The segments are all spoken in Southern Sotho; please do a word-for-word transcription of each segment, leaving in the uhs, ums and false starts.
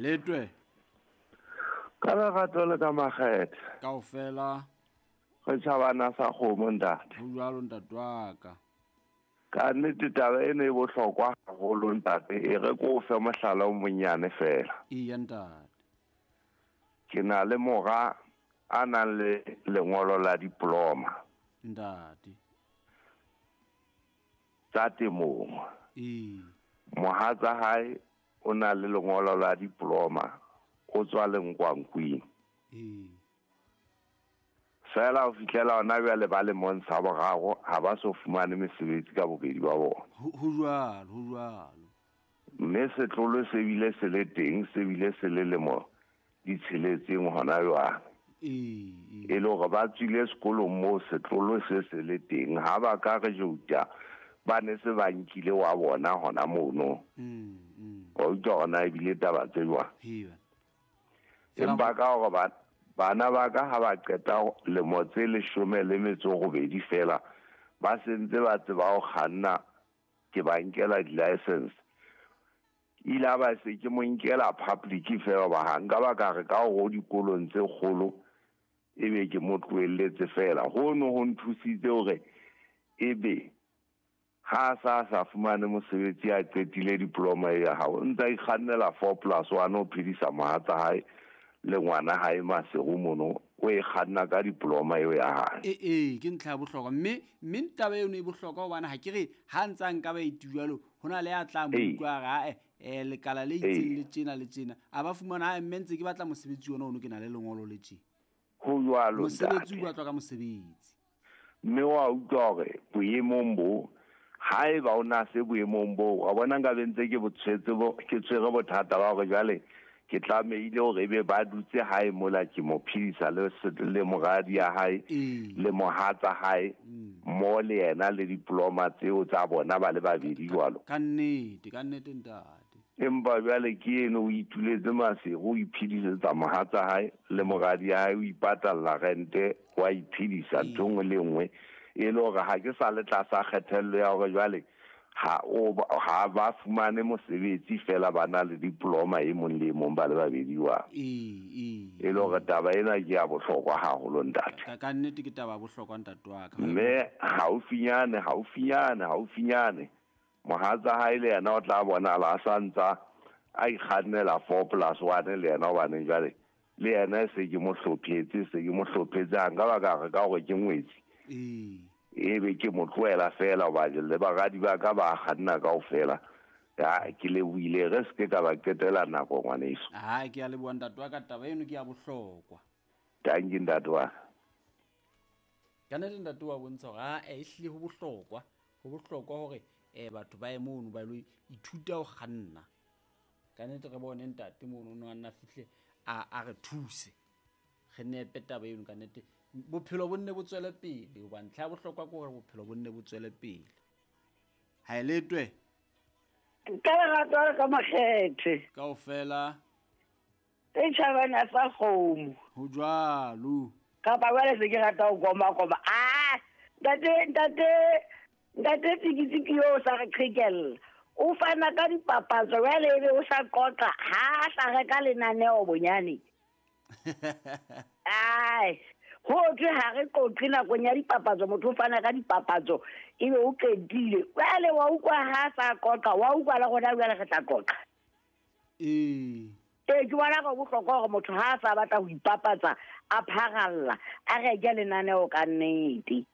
Letwe. Ka lerato le ka makgethe. Kaofela. Re tjhabana sa kgomo ntate. Ho jwalo ntate wa ka. Ka nnete taba ena e bohlokwa haholo ntate, e re ko fe mohlala o monyane fela. Eya ntate. Ke na le mora a nang le lengolo la diploma. Ntate. Tsa temong. Ee. Mohatsa hae o na le lengolo la diploma, o tswa Lengkwankwing. Ee. Fela ho fihlela hona jwale ba lemong sa boraro ha ba so fumane mesebetsi ka bobedi ba bona. Ho jwalo, ho jwalo. Mme setlolo se bile se le teng, se bile se le lemo di tsheletseng hona jwale. Ee. E le hore ba tswile sekolong moo setlolo se se le teng, ha ba ka re jouta ba ne se ba nkile wa bona hona mono. Mm, mm. Wa utlwa hona ebile taba tse jwang. Hee. Empa ka hore ba bana ba ka ha ba qeta lemo tse leshome le metso robedi fela ba sentse ba tseba ho kganna, ke ba nkela di-license. Ile ba se ke mo nkela public fela ba ha nka ba ka re ka hore dikolong tse kgolo ebe ke mo tlohelletse fela. Hono ho nthusitse hore ebe ha sa sa fumane mosebetsi a qetile diploma ya hao, o ntsa ikgannela four plus one o phedisa mohatsa hae le ngwana hae Maseru mono, o e kganna ka diploma eo ya hae. Ee, ee, ke ntlha ya bohlokwa. Mme mme taba eno e bohlokwa hobane ha ke re ha ntsa nka ba iti jwalo, ho na le ya tla mo utlwa a re eh lekala le itseng le tjena le tjena, a ba fumana ha mme ntse ke batla mosebetsi ona ono ke na le lengolo le tje. Ho jwalo mosebetsi o batlwa ka mosebetsi. Mme wa utlwa hore boemong bo haeba o na se boemong bo, wa bona nka be ntse ke botshwetse bo ke tshwere bothata ba hore jwale ke tlamehile hore ebe ba dutse hae mola ke mo phedisa le le moradi ya hae le mohatsa hae mo le yena le diploma tseo tsa bona ba le babedi jwalo. Ka nnete, ka nnete ntate. Empa jwale ke eno o ituletse Maseru, o iphedisetsa mohatsa hae le moradi ya hae, o ipatalla rente, wa iphedisa ntho nngwe le nngwe. E le hore ha ke sa le tlasa kgethello ya hore jwale ha o ha ba fumane mosebetsi fela ba na le diploma e mong le mong ba le babedi wa. Ee, ee. E le hore taba ena ke ya bohlokwa haholo ntate. Ka ka nnete ke taba ya bohlokwa ntate wa ka. Mme haufinyane, haufinyane, haufinyane mohatsa hae le yena o tla bonahala a sa ntsa a ikgannela four plus one le yena, hobane jwale le yena se ke mo hlophetse, se ke mo hlophetse ha nka ba ka re ka hore ke ngwetsi. Ee. Ebe ke mo tlohela fela hobane le baradi ba ka ba kganna kaofela. Ya ke lebohile, re se ke ka ba qetela nako ngwaneso. Ha ke a leboha ntate wa ka, taba eno ke ya bohlokwa. Thank you ntate wa. Ka nnete ntate wa bontsha hore ha e hlile ho bohlokwa, ho bohlokwa hore eh batho ba ye mono ba lo ithuta ho kganna. Ka nnete re bone ntate mono no a nna fihle a a re thuse. Re nepe taba eno ka nnete. Bophelo bo nne bo tswele pele, hobane ntlha ya bohlokwa ke hore bophelo bo nne bo tswele pele. Ha e letwe. Ka lerato le ka makgethe. Kaofela. E tjhabana sa kgomo. Ho jwalo. Kapa jwale se ke rata ho koma koma. Ah, ntate, ntate, ntate Tsikitsiki yo o sa re qhekella. O fana ka dipapatso jwale ebe o sa qoqa ha a sa reka lenaneo bonyane. Ai, ho thwe ha re qoqe nakong ya dipapatso, motho o fana ka dipapatso ebe o qetile. Jwale wa utlwa ha sa qoqa, wa utlwa le rona jwale re tla qoqa. Ee. Ee, ke bona go bohlokwa hore motho ha a sa batla ho ipapatsa, a pharalla, a reke lenaneo ka nnete.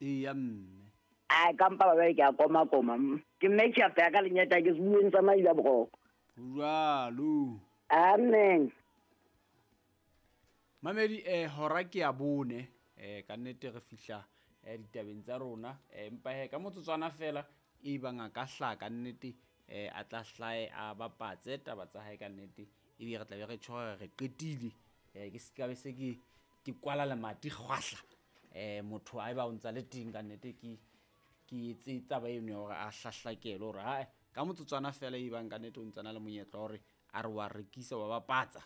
Ee, ya mme. Ai, ka mpa ba ke a koma koma. Ke mme ke a ka lenyata ke bueng tsa maila boroko. Jwalo. Amen. Mamedi eh hora ke ya bone eh ka nnete re fihla eh ditabeng tsa rona eh empa he ka motsotswana fela e bang a ka hla ka nnete eh a tla hlae a bapatse taba tsa hae ka nnete ebe re tla be re tjho re qetile eh ke se ka be se ke ke kwala lemati kgwahla eh motho a eba o ntsa le teng ka nnete ke ke etse taba eno ya hore a hlahlakele hore ha ka motsotswana fela e bang ka nnete o ntsana le monyetla hore a re wa rekisa wa bapatsa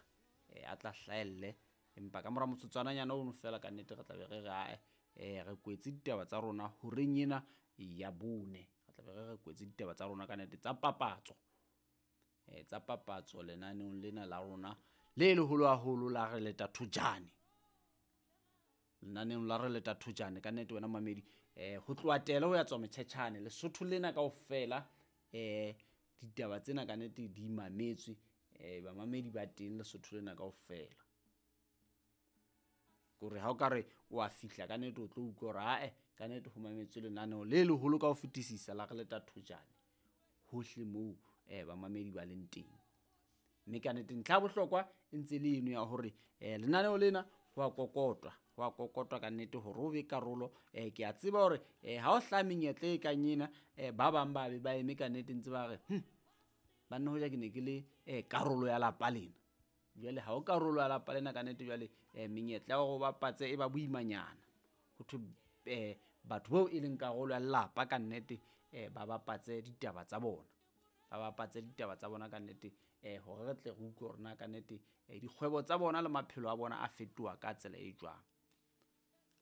eh a tla hlaelle. Empa ka mora motsotswananyana ono fela ka nnete re tla be re re ae eh re kwetse ditaba tsa rona horeng ena ya bone. Re tla be re re kwetse ditaba tsa rona ka nnete tsa papatso. eh, tsa papatso lenaneong lena la rona le leholo haholo la Re Leta Thojane. Lenaneong la Re Leta Thojane ka nnete wena mamedi eh, ho tloha Tele ho ya tswa Motjhetjhane Lesotho lena kaofela eh, ditaba tsena ka nnete di mametswe eh, bamamedi ba teng Lesotho lena kaofela. Kore ha o ka re o a fihla ka nnete o tlo utlwa hore ae ka nnete ho mametswe lenaneo le leholo ka ho fetisisa la Re Leta Thojane hohle moo eh, bamamedi ba leng teng. Mme ka nnete ntlha ya bohlokwa e ntse le eno ya hore eh, lenaneo lena ho a kokotwa, ho a kokotwa ka nnete hore o be karolo. Eh, ke a tseba hore eh, ha o hlaha menyetla e kang ena eh, ba bang ba be ba eme ka nnete ntse ba re hm, banna hoja ke ne ke le eh, karolo ya lapa lena. Jwale ha o karolo ya lapa lena ka nnete jwale eh, menyetla ya hore o bapatse e ba boimanyana. Ho thwe eh, batho bao e leng karolo ya lelapa ka nnete eh, ba bapatse ditaba tsa bona. Ba bapatse ditaba tsa bona ka nnete eh, hore re tle re utlwe hore na ka nnete eh, dikgwebo tsa bona le maphelo a bona a fetoha ka tsela e jwang.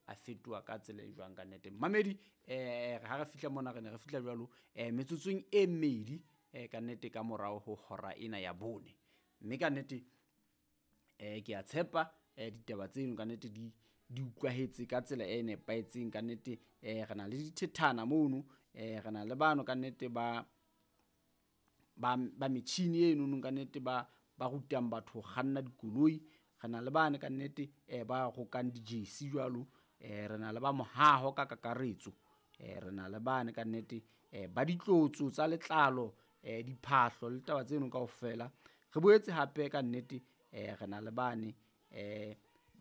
A fetoha ka tsela e jwang ka nnete. Mamedi eh, ha re fihla mona re ne re fihla jwalo eh, metsotsong e mmedi eh, ka nnete ka morao ho hora ena ya bone. Mme ka nnete eh, ke a tshepa eh, ditaba tseno ka nnete di di utlwahetse ka tsela e nepahetseng ka nnete. Eh, re na le dithethana mono eh, re na le bano ka nnete ba ba ba metjhini eno ka nnete ba ba rutang batho ho kganna dikoloi. Re na le bane ka nnete eh, ba rokang di-jersey jwalo eh, re na le ba mohaho ka kakaretso eh, re na le bane ka nnete eh, ba ditlotso tsa letlalo eh, diphahlo le taba tseno kaofela. Re boetse hape ka nnete eh, re na le bane eh,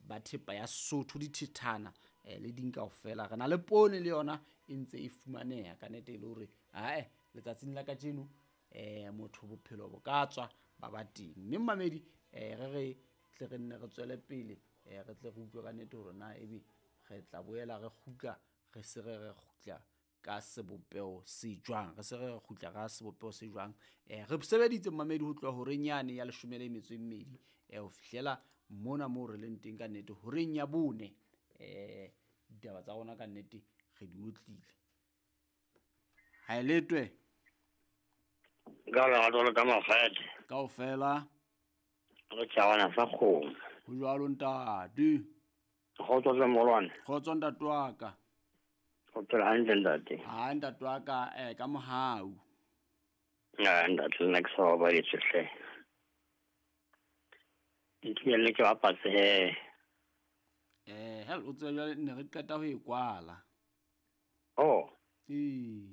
ba thepa ya Sesotho dithethana eh, le ding kaofela. Re na le poone le yona e ntse e fumaneha ka nnete e le hore ae letsatsing la kajeno eh, motho bophelo bo ka tswa ba ba teng. Mme mamedi eh, re re tle re nne re tswele pele eh, re tle re utlwe ka nnete hore na ebe re tla boela re kgutla re se re re kgutla ka sebopeho se jwang, re se re re kgutla ka sebopeho se jwang. Eh, re sebeditse mamedi ho tloha horeng yane ya leshome le metso e mmedi eh, ho fihlela mona moo re leng teng ka nnete horeng ya bone. Eh, ditaba tsa rona ka nnete re di otlile. Ha e letwe Ka lerato le ka mafete. Kaofela. Re tjhawana sa kgomo. Ho jwalo ntate. Kgotso tle molwane. Kgotso ntate wa ka. O phela hantle ntate. Ha ntate wa ka eh, ka mohau. Ya ntate le nna ke sa babaditswe hle. Ntumelle ke bapatse he. Eh, hel o tseba jwale ne re qeta ho e kwala. Oh. Ee.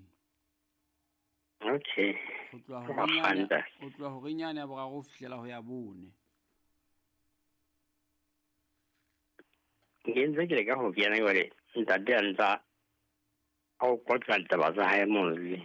Okay. Ho tloha Ho horeng yane, kganta. ho tloha horeng yane ya boraro ho fihlela ho ya bone. Ke ntse ke leka ho kena jwale ntate a ntsa a o qoqa ditaba tsa hae mono le.